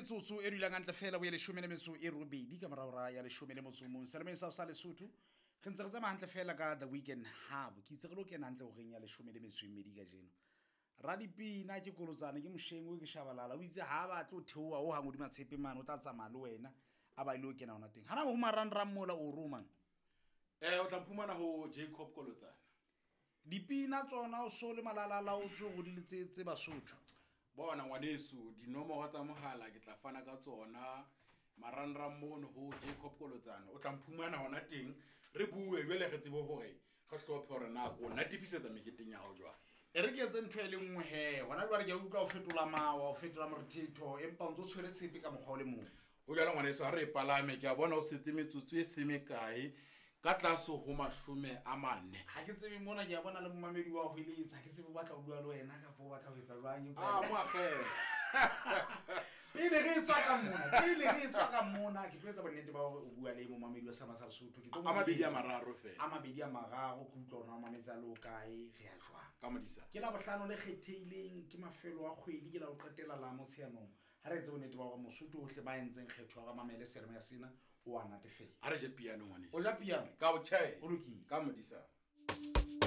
Metsotso e dulang hantle fela bo ye 18 ka morao ra ya 11. Selemeng sa sa Lesotho re ntse re tsamaya hantle fela ka The Weekend Hub. Ke itse re lo kena hantle horeng ya 12 kajeno. Radipina ke Kolotsane, ke Moshengwe, ke Shabalala. O itse ha ba tlo theoha o hang hodima tshepe mane, o tla tsamaya le wena a ba ile o kena hona teng. Hana ho marangrang mola o romang. O tla mphumana ho Jacob Kolotsane. Dipina tsona o so le malalala o tso go di letsetse Basotho. Bona ngwaneso, dinomoro tsa mohala ke tla fana ka tsona marangrang mono ho Jacob Kolotsane. O tla mphumana hona teng, re bue jwale re tsebe hore re hlophe hore na ko natefisetsa meketeng ya hao jwang. E re ke etse ntho e le nngwe he. Hona jwale ke a utlwa o fetola mawa, o fetola morethetho, empa o ntso tshwere tshepe ka mokgwa o le mong. O jwale ngwaneso, ha re e palame, ke a bona o setse metsotso e se mekae ka tlase ho 40. Ha ke tsebe mona, ke a bona le momamedi wa ho eletsa. Ha ke tsebe o batla ho bua le wena kapa o batla ho etsa jwang, empa Ah, mo akgela. Pele re tswa ka mona, pele re tswa ka mona, ke tlo etsa bonnete ba hore o bua le momamedi wa Sama sa Lesotho. Ke tlo A mabedi a mararo fela. A mabedi a mararo, ke utlwa hore na o mametse a le o kae, re ya jwang. Ka modisa. Ke la bohlano le kgethehileng, ke mafelo a kgwedi, ke la ho qetela la Motsheanong. Ha re etse bonnete ba hore Mosotho ohle ba entseng kgetho ya hore mamele seyalemoya sena, o a natefela. Ha re je piano ngwaneso. O ja piano? Ka o tjhe. O lokile. Ka modisa.